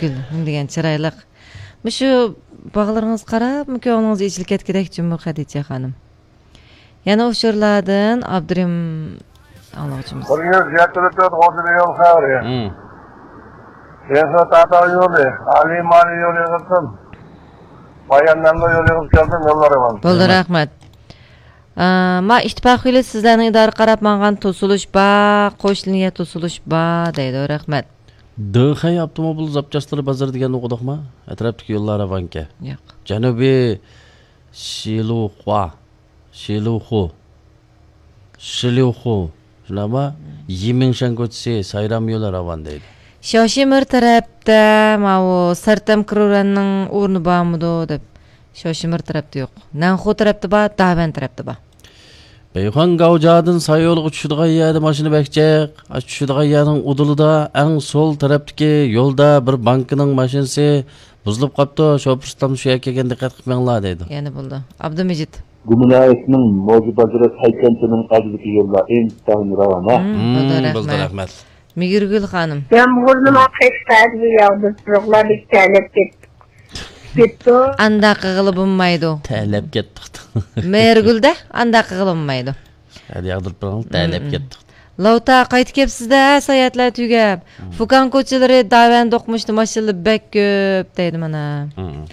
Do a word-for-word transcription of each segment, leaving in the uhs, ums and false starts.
گۈل دېگەن چىرايلىق. مۇشۇ باغلىرىڭىز قاراپمۇ كۆڭلىڭىز ئېچىلىپ كەتكۈدەك جۇمۇ، خەدىچە خانىم. يەنە ئۇچۇرلاردىن ئابدۇرېھىم ئاڭلىغۇچىمىز. بىر يۈز يەتتە تۆت غوجىدا يول خەۋىرى. مم. يېڭىسۇ تاتار يولى، ئالىي مالىي يول يىغىلسۇن. بايان نەملۇ يول يىغىلىپ كەلدىم، يوللار ئامان. بولدى، رەھمەت. رەھمەت. ئا، ما ئىتتىپاق يولى سىزلەرنىڭ ئىدارە قاراپ ماڭغان توسۇلۇش بار، قوش لىنىيە توسۇلۇش بار دەيدۇ، رەھمەت. دېخەي ئاپتوموبىل زاپچاسلىرى بازىرى دېگەننى ئوقۇدۇقما؟ ئەتراپتىكى يوللار راۋانكەن. ياق. جەنۇبىي شىلۇخۇا، شىلۇخۇ، شىلۇخۇ، شۇنداقما؟ يىمىڭشەن كوچىسى، سايرام يولى راۋان دەيدۇ. شياۋشىمىر تەرەپتە ماۋۇ سەرتەم كرۇرەننىڭ ئورنى بارمىدۇ دەپ. شياۋشىمىر تەرەپتە يوق. نەنخۇ تەرەپتە بار، داۋەن تەرەپتە بار. بەيخۇەن گاۋجادىن ساييولغا چۈشىدىغان يەردە ماشىنا بەك جىق. ئاشۇ چۈشىدىغان يەرنىڭ ئۇدۇلىدا ئەڭ سول تەرەپتىكى يولدا بىر بانكىنىڭ ماشىنىسى بۇزۇلۇپ قاپتۇ. شوپۇر ئۇستام شۇ يەرگە كەلگەندە دىققەت قىلىپ مېڭىڭلار دەيدۇ. يەنە بولدى. ئابدۇمىجىت. گۇمىنايىسنىڭ موزى بازىرى سەيكەنچىنىڭ ئالدىدىكى يوللار ئىنتايىن راۋان، ھە؟ مم، بولدى، مم، بولدى، رەھمەت. رەھمەت. مېھرىگۈل خانىم. يامغۇرنىمۇ قەشقەردە ياغدۇرۇپ تۇرۇڭلار، بىز تەلەپ كەتتۇق. كېتتۇق. ئانداق قىلغىلى بولمايدۇ. تەلەپ كەتتۇق. مېھرىگۈلدە ئانداق قىلغىلى بولمايدۇ. ھەدە ياغدۇرۇپ بېرىڭ، تەلەپ مم. كەتتۇق. لاۋتا قايتىپ كەپسىز-دە، ساياھەتلەر تۈگەپ. مم. فۇكاڭ كوچىلىرى داۋەن دوقمۇشتا ماشىنىلار بەك كۆپ دەيدۇ مانا. مم.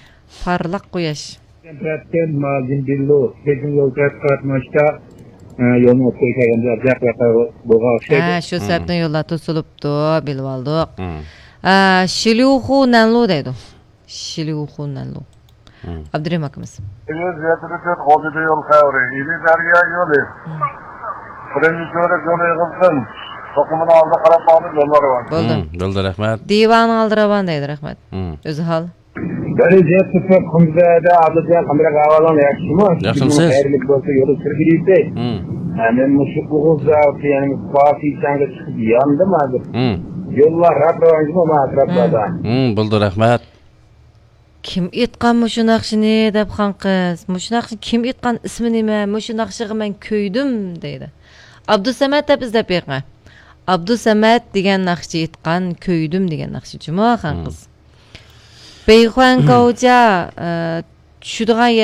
پارلاق قۇياش. تەرەپتىن ماجىن بىللۇ، بېيجىڭ يول تەرەپكە قاراتماشتا، ئە، يولنىڭ ئوتتۇرىغا كەلگەندە ئازراق ۋەقە بولغان ئوخشايدۇ. ھە، شۇ مم. سەۋەبتىن يوللار توسۇلۇپتۇ، بىلىۋالدۇق. مم. ئە، شىليۇخۇ نەنلۇ دەيدۇ. شىليۇخۇ نەنلۇ. مم. ئابدۇرېھىم ئاكىمىز. يۈز يەتتە تۆت غوجىدا يول خەۋىرى. ئىلى دەريا يولى. مم. بىرىنچى تۈۋرۈك يولى يىغىلسۇن. توقۇمىنىڭ ئالدىغا قاراپ ماڭىدۇ، يوللار راۋان. بولدى. مم، بولدى، رەھمەت. دىۋانىڭ ئالدى راۋان دەيدۇ، رەھمەت. مم. ئۆزى ھال. بەرى جەپ تۇتۇپ، قۇمزەدە ئابلىجان قانداق ئەھۋالىڭ، ياخشىمۇ؟ ياخشىمۇ سىز؟ خەيرلىك بولسا يولى سۈرگۈلۈيتى. مم. ھە، مەن مۇشۇ ئوغۇز زاۋۇتى، يەنى پاسىچاڭغا چىقىپ ياندىم ھازىر. مم. يوللار راپ راۋانجىمۇ ما ئەتراپلاردا؟ مم، بولدى، رەھمەت. كىم ئېيتقان مۇشۇ ناخشىنى دەپ خانقىز؟ مۇشۇ ناخشىنى كىم ئېيتقان، ئىسمى نېمە؟ مۇشۇ ناخشىغا مەن كۆيدۈم دەيدۇ. ئابدۇسەمەت دەپ ئىزدەپ بېقىڭە. ئابدۇسەمەت دېگەن ناخشىچى ئېيتقان، كۆيدۈم دېگەن ناخشىچىمۇ خانقىز. مم. بېيخۇەن گاۋجا، ئە، چۈشىدىغان يەر